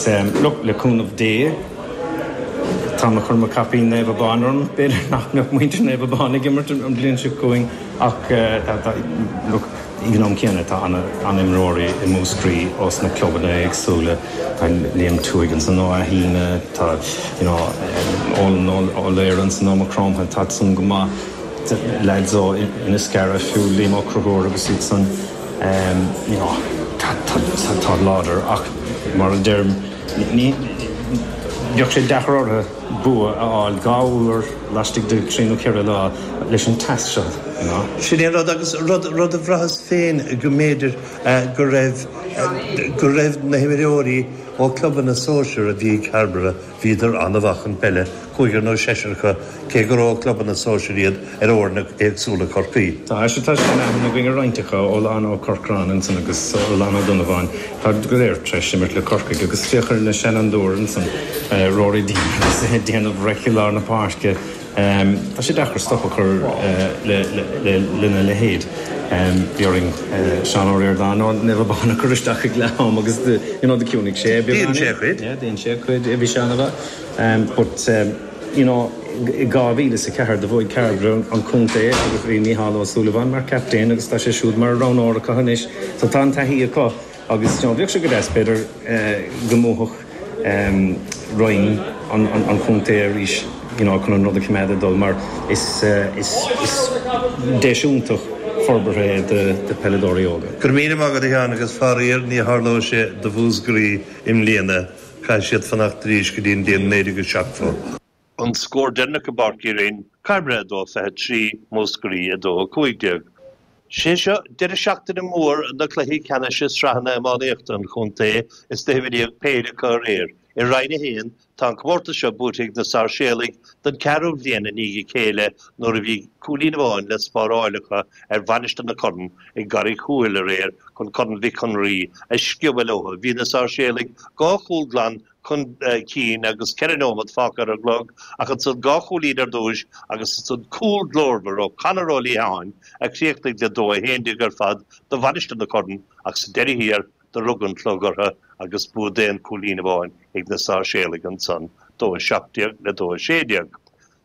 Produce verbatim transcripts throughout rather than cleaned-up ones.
Agus look, le cúnamh Dé, táim ag cur mo chaipín Naomh Abán orm, b'fhéidir nach mbeadh muintir Naomh Abán ag imirt an bhliain seo chugainn ach look, ag an am céanna tá an-imreoirí i Múscraí ós na clubanna éagsúla, tá Liam Tuaigh ansan ó Athíne, tá you know Eolan Ó Laoire ansan ó Maigh Chromtha, tá san go maith, lads ó Inniscarra fiú, Liam Ó Conchúir agus iad san, you know tá tá láidir ach mar a deirim ní bheadh sé deacair orthu bua a fháil dhá uair laistigh de trí nó ceithre lá leis an teas seo, you know. Sin é an rud agus rud rud a bhraitheas féin go mb'fhéidir go raibh go raibh na himreoirí ó clubanna sóisir a bhí ag Cairbre, bhíodar an-mhaith chun peile, cúigear nó seisear acu, cé gur ó clubanna sóisir iad ar fhoirne éagsúla Chorcaí. Tá sé tá sé in aithne againn ar roinnt acu, Olan Ó Corcráin ansan agus Olan Ó Donnabháin, tá go léir tar éis imirt le Corcaigh agus féach ar na seanfhondúir ansan, Rory Deane agus é ag déanamh raic i lár na páirce. Tá sé deacair stop a chur lena leithéid. Bhí orainn Seán Ó Ríordáin ó Naomh Abán a chur isteach ag leath am agus you know do chiúnaigh sé beagán. Dhein sé a chuid. Yeah, dhein sé a chuid. Bhí sé an-mhaith. But you know i dhá mhíle is a ceathair do bhuaigh Cairbre an contae agus bhí Mícheál Ó Súilleabháin mar captaen agus tá sé siúd mar roghnóir acu anois. So tá an taithí acu. Agus you know bheadh sé go deas b'fhéidir go mbuafadh roinn an chontae arís you know chun an rud a choimeád ag dul mar is is is deis iontach forbartha é do do peileadóirí óga. Go raibh míle maith agat a Sheáin agus faraor ní tharlóidh sé do Mhúscraí i mbliana, caithfidh siad fanacht arís go dtí an bhliain naoi déag seachtó. An scór deireanach i bPáirc Uí Rinn, Cairbre a dó fiche trí, Múscraí a dó a cúig déag. Sé seo deireadh seachtaine mór na cluichí ceannais i sraitheanna iománaíochta an chontae is na himríodh péire acu aréir. I Roinn a haon, tá an comórtas seo buaite ag na Sáirséalaigh don ceathrú bhliain i ndiaidh a chéile nuair a bhí cúilín amháin le spáráil acu ar Mhainistir na Corann i gCarraig Thuathail aréir chun Corn Mhic an Rí a sciobadh leo. Bhí na Sáirséalaigh dhá chúl glan chun cinn agus ceithre nóiméad fágtha ar an gclog ach ansan dhá chúilín ar dtúis agus ansan cúl glórmhar ó Conor Ó Liatháin a chríochnaigh le dó a haon déag ar fad do Mhainistir na Corann ach sa deireadh thiar do rug an clog orthu agus bua d'aon chúilín amháin ag na Sáirséalaigh ansan, dó a seacht déag le dó a sé déag.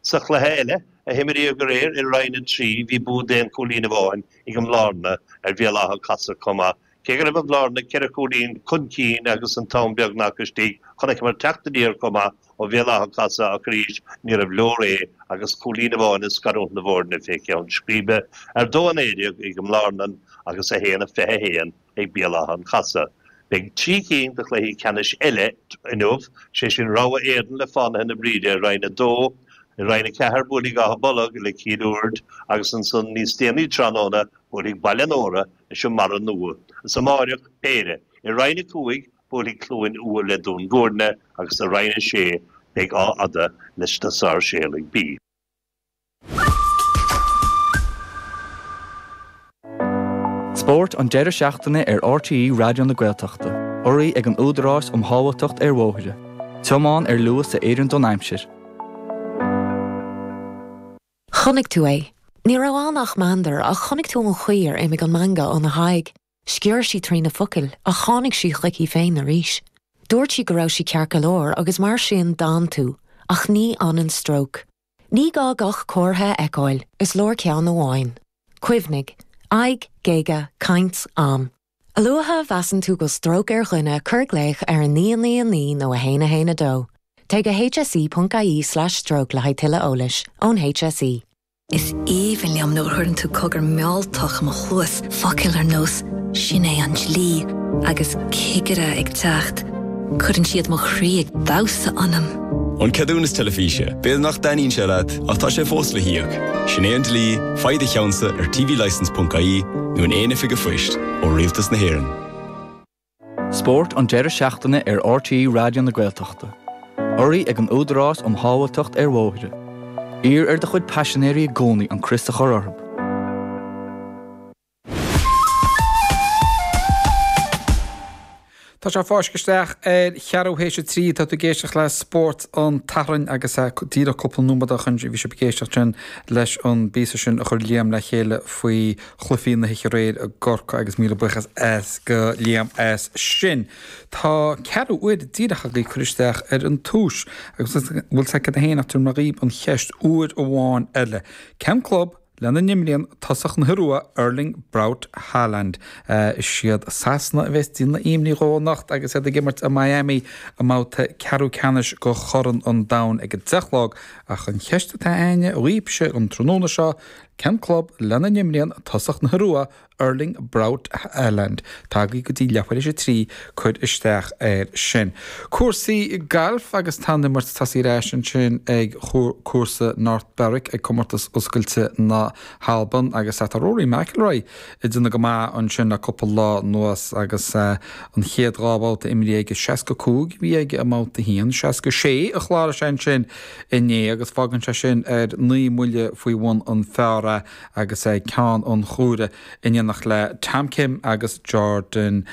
Sa chluiche eile a himríodh aréir i Roinn a trí bhí bua d'aon chúilín amháin ag an mBlárna ar Bhéal Átha an Chasaidh chomh maith. Cé go raibh an Bhlárna ceithre chúilín chun cinn agus an t-am beagnach istigh, chonaiceamar teacht aniar chomh maith ó Bhéal Átha an Chasaidh ach arís níorbh leor é agus cúilín amháin ag scarúint na bhfoirne fé cheann scríbe ar dó a naoi déag ag an mBlárnan agus a haon a fiche a haon ag Béal Átha an Chasaidh. Beidh trí cinn de chluichí ceannais eile inniu, sé sin Rogha Éadan le Fánaithe na Bríde i Roinn a dó, i Roinn a ceathair buailfidh Áth Bolg le Cill Uird agus ansan níos déanaí tráthnóna buailfidh Baile an Óra leis an mBarra Nua. Is amáireach, péire. I Roinn a cúig, buailfidh Cluain Umha le Dún Gúirne agus i Roinn a sé, beidh Áth Fhada leis na Sáirséalaigh B. Spórt an deireadh seachtaine ar RTÉ Raidió na Gaeltachta, urraithe ag an Údarás um Shábháilteacht ar Bhóithre. Tiomáin ar luas a oireann don aimsir. Chonaic tú é. Ní raibh ann ach meandar ach chonaic tú an chaoi ar imigh an meangadh óna haghaidh. Sciorr sí trí na focail ach tháinig sí chuici féin arís. Dúirt sí go raibh sí ceart go leor agus mar sin d'fhan tú, ach ní fhanann stróc. Ní gá gach comhartha a fheiceáil, is leor ceann amháin. Cuimhnigh, aghaidh, géaga, caint, am. A luaithe a mheasann tú go bhfuil stróc ar dhuine, cuir glaoch ar a naoi naoi a naoi nó a haon a haon a dó. Téigh go hse ponc ie slash stroke le haghaidh tuilleadh eolais ón HSE. Is aoibhinn liom nuair a chuireann tú cogar mealltach i mo chluas, focail ar nós 'Sin é an dlí' agus 'Cigire ag teacht'. Cuireann siad mo chroí ag damhsa ionam. An ceadúnas teilifíse, b'fhéidir nach dtaitníonn sé leat, ach tá sé fós le híoc. Sin é an dlí, faigh do cheannsa ar tvlicence ponc ie nó in aon oifig an phoist ó Rialtas na hÉireann. Spórt an deireadh seachtaine ar RTÉ Raidió na Gaeltachta. Urraithe ag an Údarás um Shábháilteacht ar Bhóithre. Iarr ar do chuid paisinéirí i gcónaí an crios a chur orthu. Tá sé fáiscthe isteach ar cheathrú théis a trí, tá tú ag éisteacht le Spórt an tSathairn agus díreach cúpla nóiméad ó shin bhí sibh ag éisteacht sin leis an bpíosa sin a chuir Liam le chéile faoi chluichí na hoíche aréir i gCorcaigh agus míle buíochas as go Liam as sin. Tá ceathrú uair díreach agaibh cur isteach ar an tomhas agus bhfuil sé cad a haon ach tabharfaidh mé dhaoibh an cheist uair amháin eile. Cén club lena n-imríonn tosach na hIorua Erling Braut Haaland. Is iad Sasana a bheas ag déanamh imní dhó anocht agus iad ag imirt i Miami i mbabhta ceathrú ceannais go Chorn an Domhain ag a deich a chlog ach an cheist atá againne dhaoibhse an tráthnóna seo, cén club lena n-imríonn tosach na hIorua Erling Braut Haaland. Tá agaibh go dtí leathuair théis a trí cur isteach air sin. Cúrsaí gailf agus tá an imirt tosaithe ar ais ansin ag cúrsa North Berwick ag Comórtas Oscailte na hAlban agus tá Rory McIlroy ag déanamh go maith ansin le cúpla lá anuas agus an chéad dhá bhabhta imrithe aige seasca cúig a bhí aige i mbabhta a haon, seasca sé a chláraigh sé ansin inné agus fágann sé sin ar naoi mbuille faoi bhun an phar é agus é ceann an chuaire in éineacht le Tom Kim agus Jordan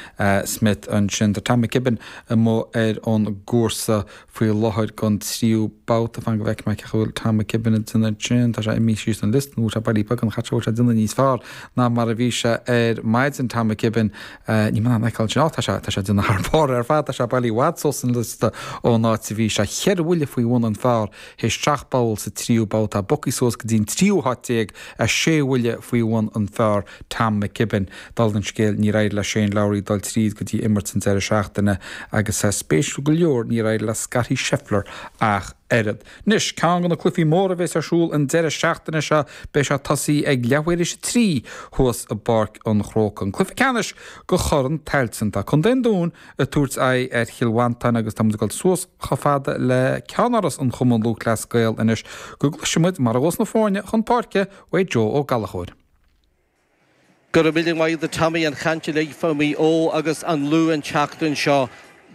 Smith ansin. Tá Tom McKibbin amuigh ar an gcúrsa faoi láthair don tríú babhta. Fan go bhfeicfidh mé cén chaoi a bhfuil Tom McKibbin ag déanamh ansin. Tá sé imithe síos an liosta nó tá sé bailí beag an chat seo bhfuil sé ag déanamh níos fearr ná mar a bhí sé ar maidin Tom McKibbin. Níl mé in ann a fheiceáil ansin. Á tá sé tá sé ag déanamh thar barr ar fad. Tá sé bailí i bhfad suas an liosta ón áit a bhí sé. Cheithre bhuille faoi bhun an phar théis seacht bpoll sa tríú babhta. Bogtha suas go dtí an tríú háit déag a sé bhuille faoi bhun an phar Tom McKibbin. Dála an scéil níor éirigh le Shane Lowry dul tríd go dtí imirt an deireadh seachtaine agus spéisiúil go leor níor éirigh le Scottie Scheffler ach oiread. Anois, ceann de na cluichí móra a bheas ar siúl an deireadh seachtaine seo, beidh sé tosaithe ag leathuair théis a trí thuas i bPáirc an Chrócaigh. An cluiche ceannais go Chorn Tailteann. Tá Contae an Dúin ag tabhairt aghaidh ar Chill Mhantáin agus táimid ag dul suas chomh fada le ceannáras an Chumann Lúthchleas Gael anois go gcloisfidh muid mar a ghabhfas na foirne chun páirce uaidh Joe Ó Gallchóir. Go raibh míle maith agat Tommy an chaint uilig fá Mhaigh Eo agus an Lú an tseachtain seo.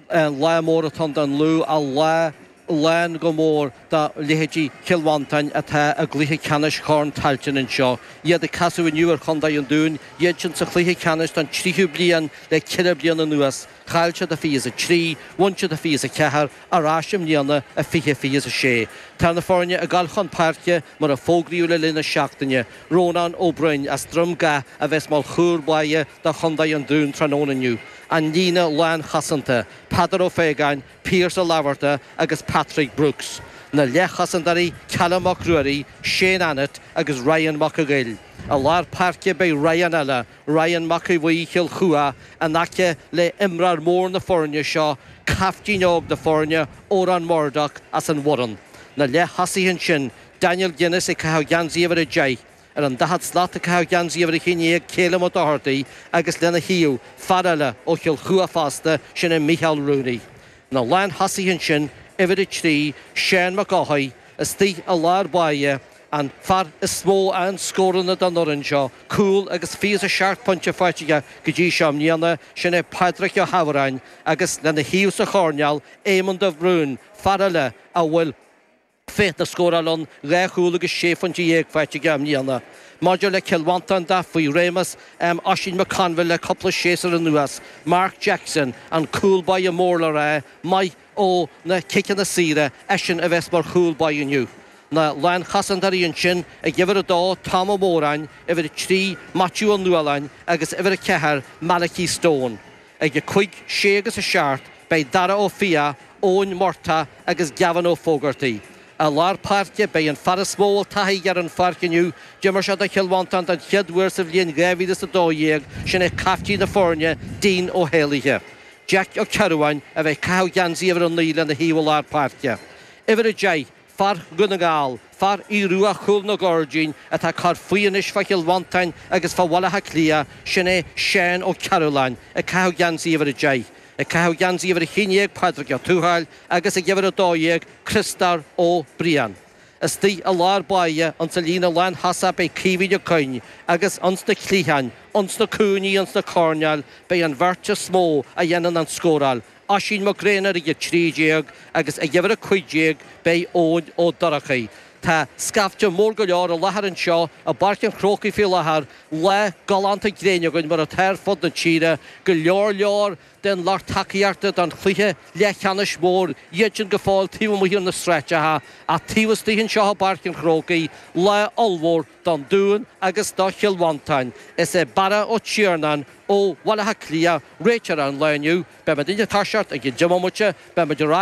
Lá mór atá ann don Lú, a lá lán go mór do leithéidí Chill Mhantáin atá i gcluiche ceannais Chorn Tailteann anseo. Iad ag casadh inniu ar Chontae an Dúin, iad sin sa chluiche ceannais don tríú bliain le ceithre bliana anuas. Chaill siad i fiche is a trí, bhain siad i fiche is a ceathair, ar ais i mbliana i fiche fiche is a sé. Tá na foirne ag dul chun páirce mar a fógraíodh le linn na seachtaine. Rónán Ó Broin as Droim Gá a bheas mar chúl báire do Chontae an Dúin tráthnóna inniu. An líne lánchosanta, Peadar Ó Faogáin, Pearse Ó Fhlatharta agus Patrick Brooks. Na leathchosantóirí, Callum Mac Ruairí, Shane Annett agus Ryan Mac a' Ghoill. I lár páirce beidh Ryan eile, Ryan Mac Aodha Bhuí Chill Chua, in aice le imreoir mór na foirne seo, caiftín óg na foirne, Odhrán Murdock as an Bhoireann. Na leath-thosaithe ansin, Daniel Guinness ag caitheamh geansaí uimhir a deich, ar an daichead slat ag caitheamh geansaí uimhir a haon déag, Calum Ó Dochartaigh agus lena thaobh, fear eile ó Chill Chua fosta, sin é Micheál Rooney. Na lán-thosaithe ansin, uimhir a trí, Seán Mac Eochaidh, istigh i lár báire, an fear is mó a fhaigheann scóranna don fhoireann seo, cúl agus fiche is a seacht pointe faighte aige go dtí seo i mbliana, sin é Pádraic Ó hAmhráin, agus lena thaobh sa choirnéal, Éamonn de Brún, fear eile a bhfuil féith na scórála ann, dhá chúl agus sé phointe dhéag faighte aige i mbliana. Maidir le Cill Mhantáin de, faoi réimeas Oisín McConville le cúpla séasúr anuas, Mark Jackson, an cúl báire mór le rá, maith ó na ciceanna saora, eisean a bheas mar chúl báire inniu. Na lánchosantóirí ansin, ag uimhir a dó, Tom Ó Móráin, uimhir a trí, Maitiú Ó Nualláin agus uimhir a ceathair, Malachy Stone. Ag a cúig, sé agus a seacht, beidh Dara Ó Fiaich, Eoin Murtagh agus Gavin Ó Fógartaigh. I lár páirce, beidh an fear is mó a bhfuil taithí aige ar an pháirc inniu, d'imir sé do Chill Mhantáin don chéad uair sa bhliain dhá mhíle is a dó dhéag, sin é caiftín na foirne, Dean Ó hÉalaithe. Jack Ó Cearbháin a bheidh ag caitheamh geansaí uimhir a naoi lena thaobh i lár páirce. Uimhir a deich, fear Dhún na nGall, fear Aodh Ruadh Chúl na gCuirdín atá ag cur faoi anois fá Chill Mhantáin agus fá Bhaile Átha Cliath, sin é Seán Ó Cearúlláin, ag caitheamh geansaí uimhir a deich. Ag caitheamh geansaí uimhir a haon déag, Pádraig Ó Tuathail, agus ag uimhir a dó dhéag, Criostóir Ó Briain. Istigh i lár báire, ins an líne lánthosach beidh Caoimhín Ó Coinn agus ins na cliatháin, ins na cúinní, ins na coirnéil, beidh an bheirt is mó a dhéanann an scóráil, Oisín Mac Grianna ag a trí déag agus ag uimhir a cúig déag beidh Eoin Ó Dorchaigh. Tá scaifte mór go leor i láthair anseo i bPáirc an Chrócaigh faoi láthair, lá galánta gréine againn mar atá ar fud na tíre, go leor leor den lucht tacaíochta don chluiche leathcheannais mór, iad sin go fóill taobh amuigh ar na sráideacha, ach taobh istigh anseo i bPáirc an Chrócaigh, lá ollmhór don Dún agus do Chill Mhantáin. Is é Barra Ó Tiarnáin ó Bhaile Átha Cliath réiteoir an lae inniu. Beidh muid ag toiseacht i gceann deich mbomaite, beidh muid ar